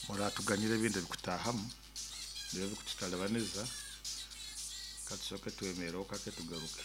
Muratuganyira ebindi ebikutahamu nibyo bikututalibaniza, katusooke twemereho kake tugaruke.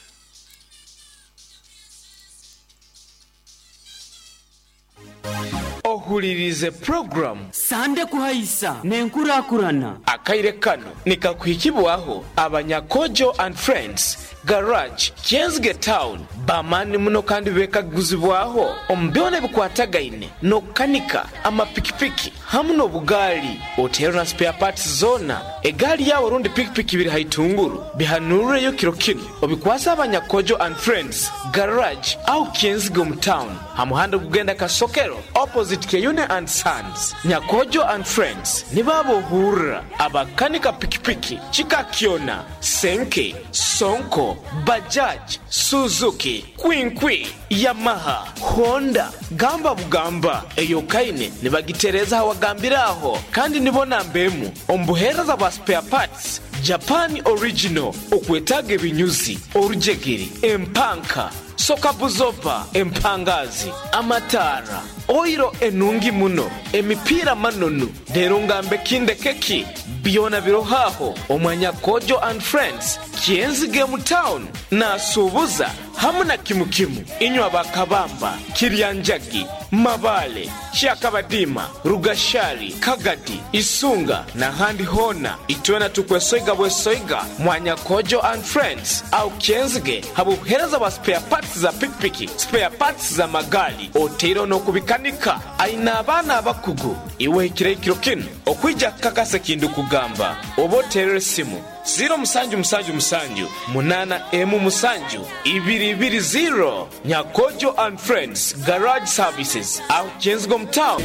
Ohuririize puroguramu. Sande Kuhaisa n'enkurakurana. Akaire kano nikakuhikibwaho aba Nyakojo and Friends Garage, Kyenzige Town, b'amaani muno kandi beekaguzibwaho omu byona ebikwatagaine n'okukanika amapikipiki hamu n'obugaali. Oteerwe na spare parts zoona, egaali yaawe rundi pikipiki biri ha itunguru, bihanuureyo kiro kinu obikwase aba Nyakojo and Friends Garage aho Kyenzige omu town ha muhanda ogugenda Kasokero opposite Kyeyune and Sons. Nyakojo and Friends nibo ab'ohurra abakanika pikipiki kika kyona, Senke, Sonko, Bajaj, Suzuki, Kwinkwi, Yamaha, Honda, gamba bugamba eyokaine nibagitereeza hawagambire aho kandi nibo namba emu omu buheereza bwa spare parts Japan original okwetaaga ebinyuzi, orujegere, empanka, sokabuzoba, empangaazi, amataara, oiro enungi muno, emipiira manonu, reero ngambe ki ndeke ki? Byona biroho aho omwa Nyakojo and Friends, Kyenzige mu town, nasuubuza hamu na kimu kimu. Inywe aba Kabamba, Kiryanjagi, Mabaale, Kyakabadiima, Rugashari, Kagadi, Isunga n'ahandi hoona, itwena tukwesoiga bwesoiga mwa Nyakojo and Friends aho Kyenzige habw'obuheereza bwa spare parts za pikipiki, spare parts z'amagaali otaireho n'okubikanika. Aine abaana abakugu. Iwe ohikireho ekiro kinu okwija kukakasa eki ndikugamba, oba oteerere esimu ziiro musanju musanju musanju munaana emu musanju ibiri ibiri ziiro. Nyakojo and Friends Garage Services aho Kyenzige omu town.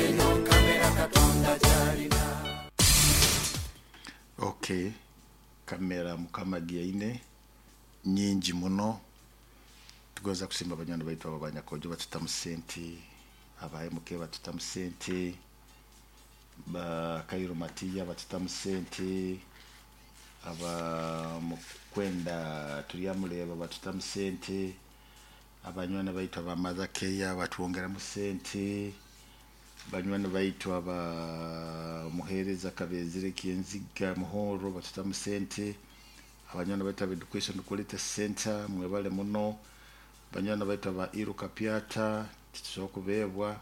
Ok kamera mukama agiaine nyingi muno tugonza kusiima banywani baitu abo abanyakojo batutamu sente aba MK batutamu sente ba Kairo Matiya batutamu sente aba Mukwenda Turyamureeba batutamu sente abanywani baitu aba Mother Care batwongeramu sente banywani baitu aba Muheereza Kabezire Kyenziga Muhoro batutamu sente abanywani baitu aba Education Quality Center mwebale muno banywani baitu aba Iruka Pyata titusobola kubeebwa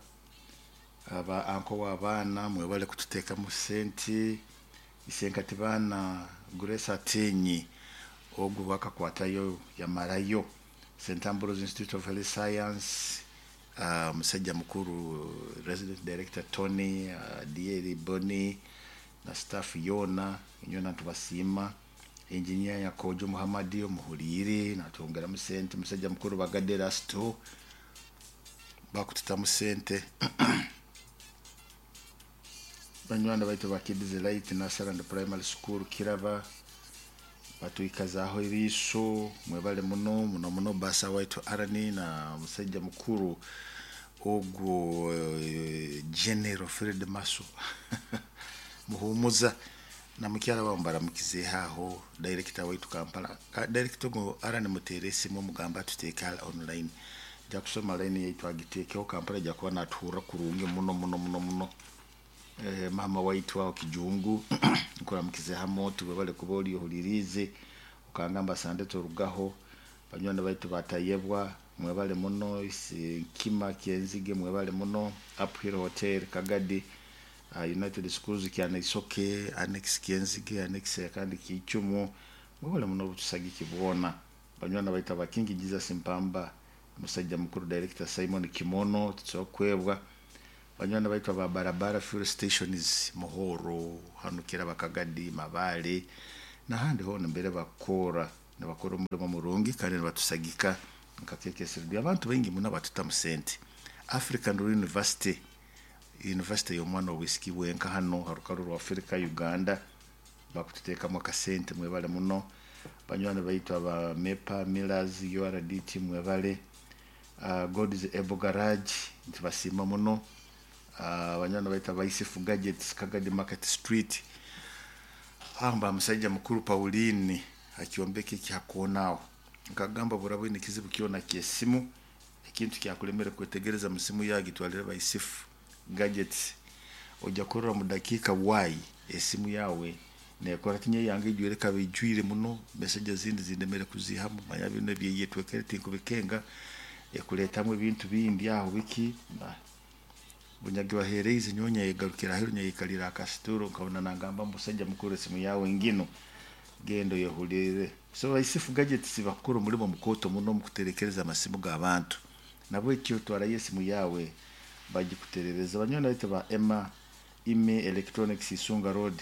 aba anko w'abaana mwebale kututeekamu sente isenkati baana Grace Atenyi ogu wakakwatayo yamarayo St Ambrose Institute of Health Science omusajja mukuru Resident Director Tony Dieri Boni na staff yoona inywena nitubasiima Engineer Nyakojo Muhammad omuhuriire natwongeramu sente omusajja mukuru Bagade Erasto bakututamu sente banywani baitu ba Kids Light Nursery and Primary School Kiraba batwikazaaho eriiso mwebale muno muno muno basa waitu Arani na musajja mukuru ogwo General Fred Maso muhumuza na mukyala wawe mbaramukizeeho aho director waitu Kampala director ogwo Arani muteere esimu omugamba atuteeke online nja kusoma line yaitu agiteekeho Kampala aija kuba natuhurra kurungi muno muno muno muno. Maama waitu aho Kijungu nkuramukize hamo webale kuba ori ohuririize okangamba sande torugaho banywani baitu batayebwa mwebale muno Nkima Kyenzige mwebale muno Uphill Hotel Kagadi United Schools Kyanaisoke Annex Kyenzige Annex kandi Kiicumu mwebale muno obutusagiki bwona banywani baitu aba King Jesus Mpamba musajja mukuru Director Simon Kimono tusobola kwebwa banywani baitu aba Barabara Fuel Stations Muhoro hanu Kiraba Kagadi Mabaale n'ahandi hoona mbere bakukora nibakora omurimo murungi kandi nibatusagika nka KKSRD abantu baingi muno abatutamu sente African University University y'omwana obwisiki bwenka hanu ha rukaru rwa Africa Uganda bakututeekamu akasente mwebale muno banywani baitu aba MEPA Millers URDT mwebale God's Able Garage nitubasiima muno banywani baitu aba Isifu Gadgets Kagadi Market Street amba musajja mukuru Pauline akyombeka eki ha koona aho nkagamba buraba oine ekizibu kyona ky'esimu ekintu kyakulemere kwetegereza mu simu yaawe gitwalire ba Isifu Gadgets Ojja kurora mu dakiika bwayi esimu yawe nekora tinye yange ijwire kaba ijwire muno, message ezindi zindemere kuzihamu. Manya bino ebyeyetwekere tinkubikenga, ekuleetamu ebintu bindi aho biki. Bunyagi baheereize nyowe nyayegarukira aheeru, nyayekalira akasituro, nkabona nangamba, musajja mukuru, esimu yawe ngino, genda oyehulirire. So Baisifu Gadgets bakukora omulimo mukooto muno omu kuterekereza amasimu g'abantu. Nabwekyo twarayo esimu yawe bagikuterereza. Banywani baitu ba Emma Ime Electronics, Isunga Road,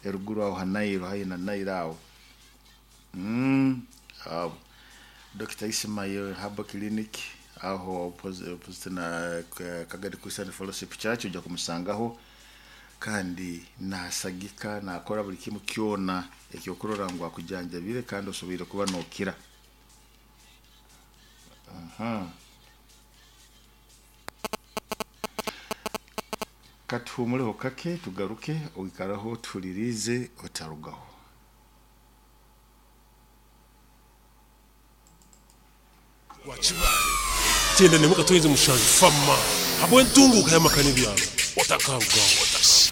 eruguru aho ha Nairo, haihi na Nairo aho. Abo Dr. Ismail Herbal Clinic aho opposite na Kagadi Christian Fellowship Church, ojja kumusangaho kandi nasagika, nakora buli kimu kyona ekyokurora ngu akujanjabire kandi osoboire kuba nokira. Aha. Katuhumuleho kake tugaruke, oikaraho tuhulirize, otarugaho. Rwakibare 97 fama habw'entunguka y'amaka n'ebyaro otakarugaho.